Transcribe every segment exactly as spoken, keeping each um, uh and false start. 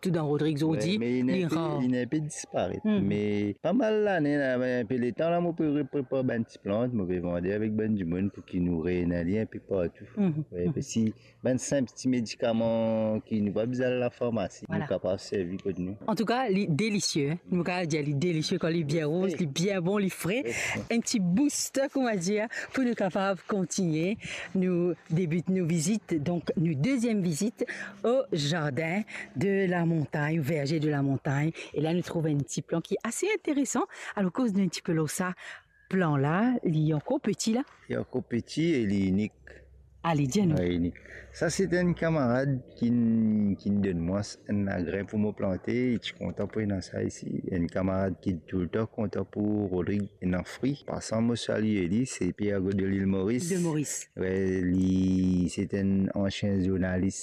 Tou dan Rodrig, zordi, li rar. Li ena inpe disparet. Me pa mal lane la, inpe letan la, mo pe reprepar bann ti plant, mo pe vande avek bann dimoun pou ki nou reyini li inpe partou. Wi, parski bann sinp ti medikaman ki nou pa bizin al lafarmasi, nou kapav servi kot nou. Antouka, li delisie, nou kapav dir li delisie kan li bien rouz, li bien bon, li fre. Enn ti booster, kouma dir, pou nou kapav kontigne nou debit nou vizit, donk nou deziem vizit au jardin de la montagne, au verger de la montagne. E la nou trouv enn ti plan ki ase interesan. Alor, koz nou enn tipe lor sa plan la, li ankor peti la? Li ankor peti e li inik. Ale, dir nou. Wi, inik. Sa se enn kamarad ki, ki donn mwa enn lagrin pou mo plante, li ti kontan pou ena sa isi. Enn kamarad ki toultan kontan pou Rodrig ena fri. Pasan mo salie li, se Pierre Godot de l'Île Maurice. De Maurice. Wi, li se enn ansien zournalis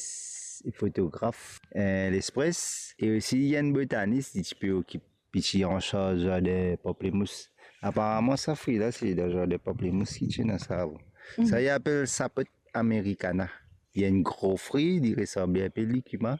e fotograf, eh, L'Express, e osi li enn botanis, li ti pe okip, li ti ansarz zardin pamplemous. Aparaman sa fri la se dan zardin pamplemous ki ti ena sa avan. Sa li apel Sapot americana. Li enn gro fri, li resanble inpe likima,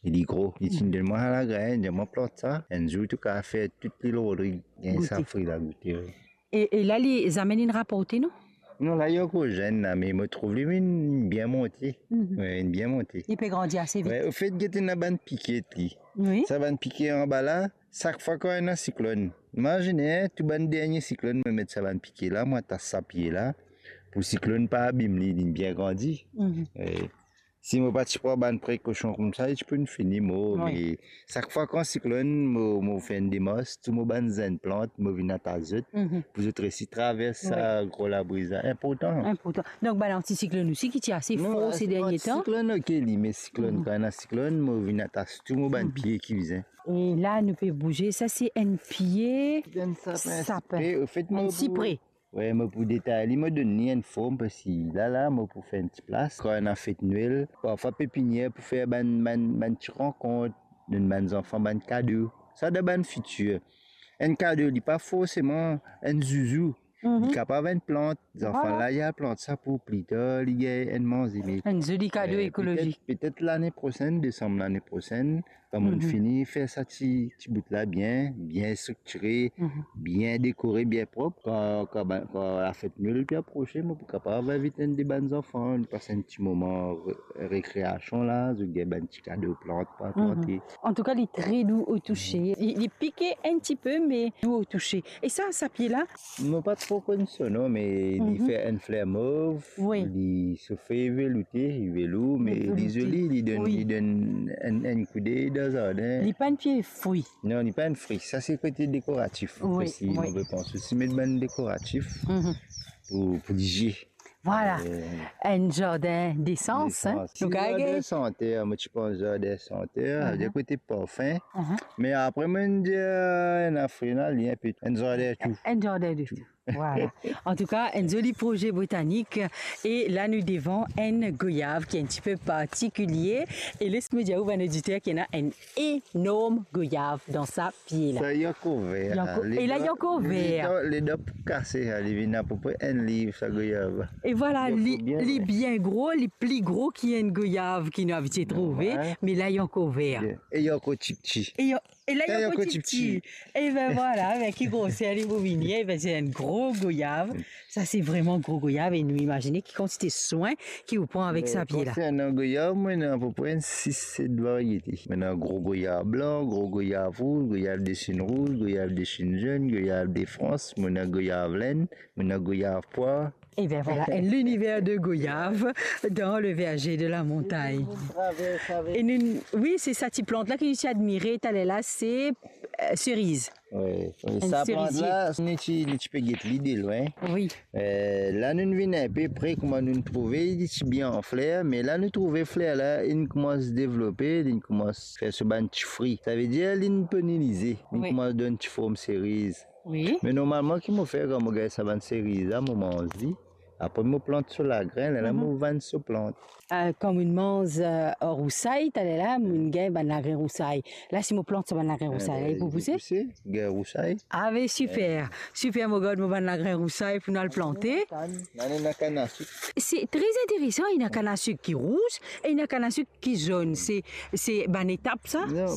e li gro. Li ti donn mwa sa lagrin, dir mwa plant sa, enn zour to kapav fer tou lil Rodrig gagn sa fri la goute, wi. E, e la, li zame inn raporte, non? Non, la, li ankor zenn la, me mo trouv li inn bien monte. Wi, inn bien monte. Li pe grandi ase vit. Wi, anfet, get ena bann pike li. Wi. Sa bann pike anba la, sak fwa kan ena siklonn. Imazine, tou bann dernie siklonn, mo met sa bann pike la, mo atas sa pie la, pou siklonn pa abim li, li bien grandi. Wi. Si mo pa ti pran bann prekosion koumsa, li ti pou fini mor. Wi. Me sak fwa kan siklonn, mo, mo fer enn demars, tou mo bann zenn plant, mo vinn atas zot, pou zot resi travers sa gro labri sa. Inportan. Inportan. Donk, bann antisiklonn osi ki ti ase for se dernie tan. Non, siklonn, ok, li, me siklonn, kan ena siklonn, mo vinn atas tou mo bann pie ki bizin. E la, nou pe bouze, sa se enn pie sapin. Enn sapin, sipre. Anfet, enn sipre. Wi, mo pou detay li, mo donn li enn form, parski la, la, mo pou fer enn ti plas. Kan ena fet Nwel, parfwa pepinier pou fer bann, bann, bann ti rankont, donn bann zanfan bann kado. Sa dan bann fitir. Enn kado, li pa forseman enn zouzou. Li kapav enn plant. Zanfan la, li al plant sa pou pli tar, li gagn enn manze. Me, enn zoli kado, eh, ekolozik. Petet, petet lane prosenn, desam lane prosenn, kan mo'nn fini fer sa ti, ti bout la bien, bien striktire, bien dekore, bien prop, kan, kan, kan lafet Nwel pe aprose, mo pou kapav invit enn de bann zanfan, nou pas enn ti moman re-, rekreasion la, zot gagn bann ti kado plant, pa plante. Antouka, li tre dou o touse. Li, li pike enn tipe, me dou o touse. E sa, sa pie la? Mo pa tro konn so non, me li fer enn fler mov, li so fey veloute, li velour, me li zoli, li donn, li donn enn, enn koudey dan zardin. Li pa enn pie fri. Non, li pa enn fri. Sa se kote dekoratif. Wi, osi, wi. Mo pe pans osi met bann dekoratif pou, pou li zie. Vwala. Eh. Enn zardin desans, hein. Desans. Nou kapav dir zardin santer, mo ti pans zardin santer, dir kote parfin. Me apre, mo'nn dir, eh, enn afrina, li enpe enn zardin tou. Enn zardin de tou. Vwala. Antouka, enn zoli proze botanik. E la, nou devan enn goyav ki enn tipe partikilie. E les mo dir ou bann oditer ki ena enn enorm goyav dan sa pie la. Sa, li ankor ver, li ankor, e la, li ankor ver. Ledan, ledan pou kase, li vinn apepre enn liv, sa goyav. E vwala, li, li bien gro, li pli gro ki enn goyav ki nou abitie trouve, me la, li ankor ver. E li ankor tipti. E li, e la, li ankor tipti. Ében vwala, avek ki groser li pou vini, ében, se enn gro goyav. Sa, se vreman gro goyav e nou imazine ki kantite swin ki ou pran avek sa pie la. Konsernan goyav, mo ena apepre enn sis set variete. Mo ena gro goyav blan, gro goyav rouz, goyav de Sinn rouz, goyav de Sinn zenn, goyav de Frans, mo ena goyav Lenn, mo ena goyav pwar. Ében vwala, enn liniver de goyav dans le verger de la montagne. E nou, wi, se sa ti plant la ki nou ti admire taler la, se, eh, seriz. Wi, wi. Enn serizie. Sa plant la, nou ti, nou ti pe get li de lwin. Wi. Eh, la nou vinn inpe pre, kouma nou trouve, li ti bien an fler, me la nou trouve fler la, li koumans devlope, li koumans fer so bann ti fri. Savedir, li polininize, li koumans donn ti form seriz. Wi. Me normalman, ki mo fer kan mo gagn sa bann seriz la, mo manz li. Apre, mo plant so lagrin, lerla mo vann so plant. Eh, kan mo'nn manz, eh, rousay, taler la, mo'nn gagn bann lagrin rousay. La, si mo plant sa bann lagrin rousay la, li pou pouse? Li pou pouse, gagn rousay. Ah, be siper. Siper, mo gard mo bann lagrin rousay pou nou al plante. Kann, ena kann asik. Se tre interesan, ena kann asik ki rouz, e ena kann asik ki zonn. Se, se bann etap, sa? Non,